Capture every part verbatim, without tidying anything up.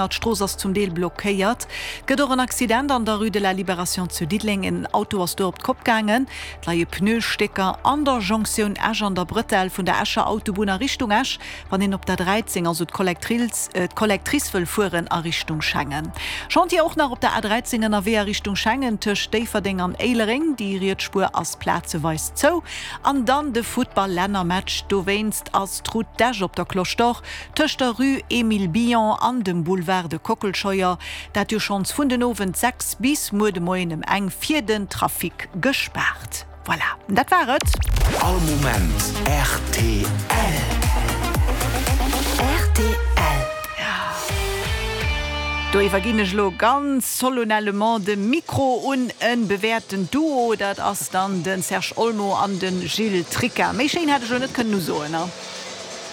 D'Strooss ass zum Deel blockéiert. Et gëtt och en Accident an der Rue de la Libération zu Diddeleng. En Auto ass do op d'Kopp gaangen. Et leie Pneustécker an der Jonktioun Esch an der Bretelle vun der Escher Autobunn a Richtung Esch, wann een op der dräizéng, also d'Collectrice wëll fueren a Richtung Schengen. Chantier och nach op der A dräizéng ënnerwee a Richtung Schengen tëscht Déifferdeng an Éilereng. Déi riets Spuer ass plazeweis zou. An dann de Futtball-Lännermatch. Dowéinst ass d'Route d'Esch op der Cloche d'Or tëscht der Rue Émile Billon an dem Boulevard de Kockelscheuer, dat jo schonns vun den Owend sechs bis muer de Moien ëm eng fir den Trafic gespaart. Voilà, dat war et. All Moment rtl. Rtl. Do iwwerginn ech elo ganz solennellement de Mikro un e bewäerten Duo, dat ass dann de Serge Olmo an de Gilles Tricca. Méi schéin hätt ech elo net kënnen usoen, ne?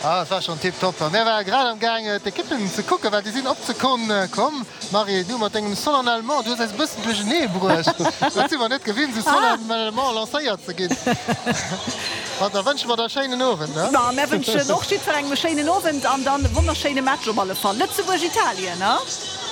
Ah, dat war schonn tiptop. A mär ware grad am Gaang d'Ekippen ze kucken, well déi sinn op d'Sekonn komm. Marie, du mat dengem solennellement, du hues eis e bëssen duerchenee bruecht. Dat si mer net gewinnt, esou solennellement lancéiert ze ginn. Ma da wënsche mer der e schéinen Owend, ne? Ma mär wënschen och jiddwerengem e schéinen Owend an dann e wonnerschéine Match op alle Fall. Lëtzebuerg-Italien, ne?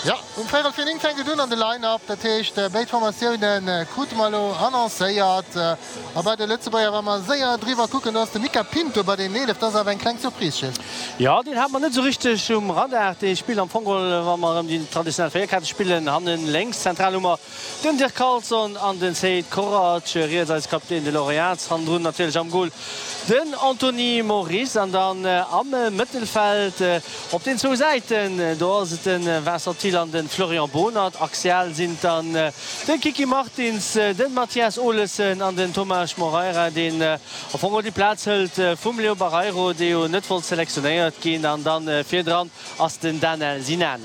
Jo, um véierel vir néng fänkt et un an de Line-Up. Dat heescht, béid Formatioune krute mer elo annoncéiert. A bei de Lëtzebuerger, wa mer séier driwwer kucken, do ass de Mica Pinto bei den eelef. Dat ass awer eng kleng Surprise, Gilles. Jo, deen hat mer net esou richteg um Radar. Dee spillt am Fong geholl, wa mer erëm déi traditionell Véierkette spillen, hannen lénks. Zentral hu mer den Dirk Carlson an den Seid Korac, riets eise Kapitän de Laurent Jans, hannendrun natierlech am Goal den Anthony Moris an dann am Mëttelfeld op den zwou Säiten, do ass et de Vincent Thill an de Florian Bohnert. Axial sinn et dann de Kiki Martins, de Mathias Olesen an den Tomás Moreira, deen am Fong och déi Plaz hëlt vum Leo Barreiro, dee jo net wollt selektionéiert ginn. An dann virdran ass den Danel Sinani.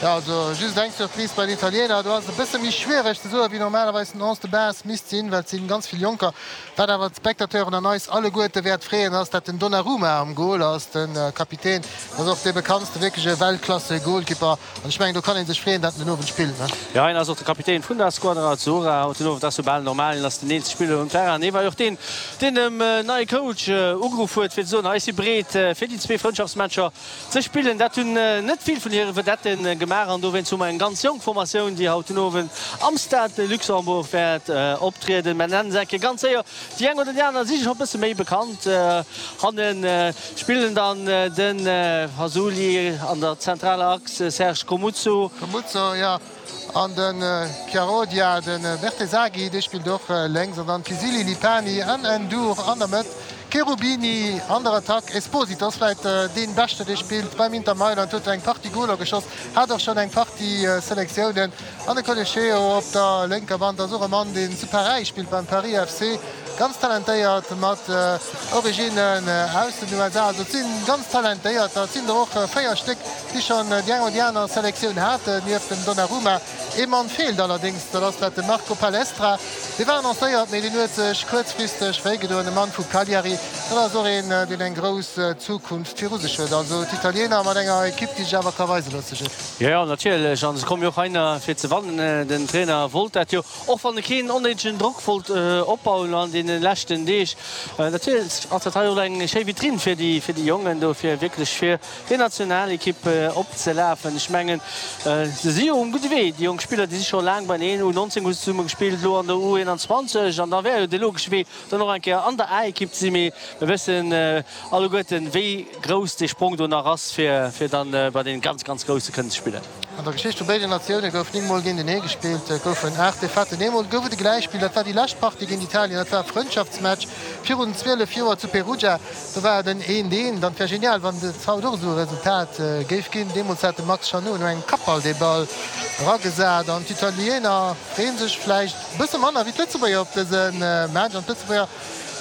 Jo, also just eng Surprise bei den Italiener, do ass et e bësse méi schwiereg ze soen, wéi normalerweis den Onze de base misst sinn, well et si ganz vill Jonker. Wat awer d'Spectateuren an eis alleguerte wäert freeën, ass, dat den Donnarumma am Goal ass, de Kapitän. Dat ass och dee bekanntste wierkleche Weltklasse-Goalkeeper. An ech mengen, do kann ee sech freeën, dat en den Owend spillt, ne? Jo, hien ass och de Kapitän vun der Squadra Azzurra haut den Owend. Ass jo bal normal, hien ass den eelste Spiller um Terrain. Hie war jo och deen, deen dem neie Coach ugeruff huet, fir ze soen, Hei, ech si breet, fir déi zwee Frëndschaftsmatcher ze spillen. Dat hunn net vill vun hire Vedette gemaach an dowéinst hu mer eng ganz jonk Formatioun, déi haut den Owend am Stade de Luxembourg wäert optrieden. Mä nennen se eng Kéier ganz séier déi eng oder déi aner si scho e bësse méi bekannt. Hanne spillen dann de Fasuli an der zentraler Achs, Serge Comuzzo. Comuzzo, jo. An de Chiarodia, de Bertesaghi, dee spillt och lénks an dann Pisili, Lipani an Ndour an der Mëtt. Cherubini an der Attack, Esposito ass vläit dee Beschte dee spillt beim Inter Mailand, huet eng Partie Goler geschoss, hat och schonn eng Partie Selektiounen. An de Coleccheo op der lénker Band ass och e Mann deen zu Paräis spillt beim Paris F C, ganz talentéiert mat Originnen aus den U S A. Also et si ganz talentéierter, et sinn der och véier Stéck déi schonn déi eng oder déi aner Selektioun haten, nieft dem Donnarumma. Ee Mann feelt allerdéngs, dat ass dat de Marco Palestra. Dee war annoncéiert, mee deen huet sech kuerzfristeg wéigedoen. E Mann vu Cagliari, dat ass och een, deen eng grouss Zukunft viru sech huet. Also d'Italiener mat enger Ekipp, déi sech awer ka weise loosse, Gilles. Jo, jo, natierlech. A se komme jo och heihinner fir ze wannen. Den Trainer wollt dat jo, och wann e keen onnéidegen Drock wollt opbauen an deene leschten Deeg. Natierlech ass dat hei och eng schéi Vitrinn fir déi Jongen do, fir wierklech fir déi Nationalekipp opzelafen. Ech mengen, se si jo um gudde Wee, déi jonk Spiller, déi si scho laang beineen. U nonzéng hu se zesumme gespillt, elo an der U eenanzwanzeg an da wär jo de logesche Wee, dann och eng Kéier an der A-Ekipp ze sinn. Mee mir wëssen alleguerten, wéi grouss dee Sprong do nach ass, fir dann bei deene ganz, ganz Grousse kënnen ze spillen. An der Geschicht vu béiden Natioune gouf néng Mol géintenee gespillt. Et goufen aacht Defaitten, eemol gouf et e Gläichspill. Dat war déi lescht Partie géint Italien, dat war e Frëndschaftsmatch virun zwielef Joer zu Perugia. Do war et en eent eent an et wär genial, wann et haut och esou e Resultat géif ginn. Deemools hat de Max Chanot no engem Kappball dee Ball eragesat an d'Italiener freeë sech vläicht e bësse manner wéi d'Lëtzebuerger op dëse Match. An d'Lëtzebuerger,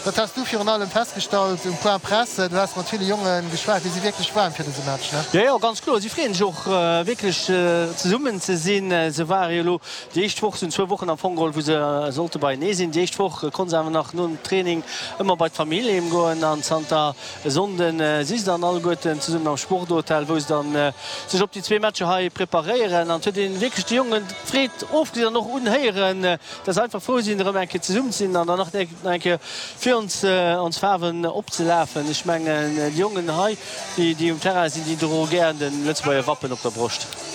dat has du virun allem festgestallt um Point Presse, du has mat ville Jonge geschwat, déi si wierklech waarm fir dëse Match, ne? Jo, jo, ganz kloer. Si freeën sech och wierklech zesummen ze sinn. Se ware jo elo déi éischt Woch, se hunn zwou Wochen am Fong geholl, wou se sollte beienee sinn. Déi éischt Woch konnte se awer nach nom Training ëmmer bei d'Famill heem goen an zanter e Sonnden si se dann alleguerten zesummen am Sporthotel, wou se dann sech op déi zwee Matcher hei preparéieren. An et huet een wierklech de Jongen d'Freed ofgesinn an och unhéieren, dass se einfach frou sinn, erëm eng Kéier zesummen ze sinn an dann nach eng Kéier virun ons ons Faarwen opzelafen. Ech mengen déi Jongen hei, déi déi um Terrain sinn, déi droe gären de Lëtzebuerger Wappen op der Broscht.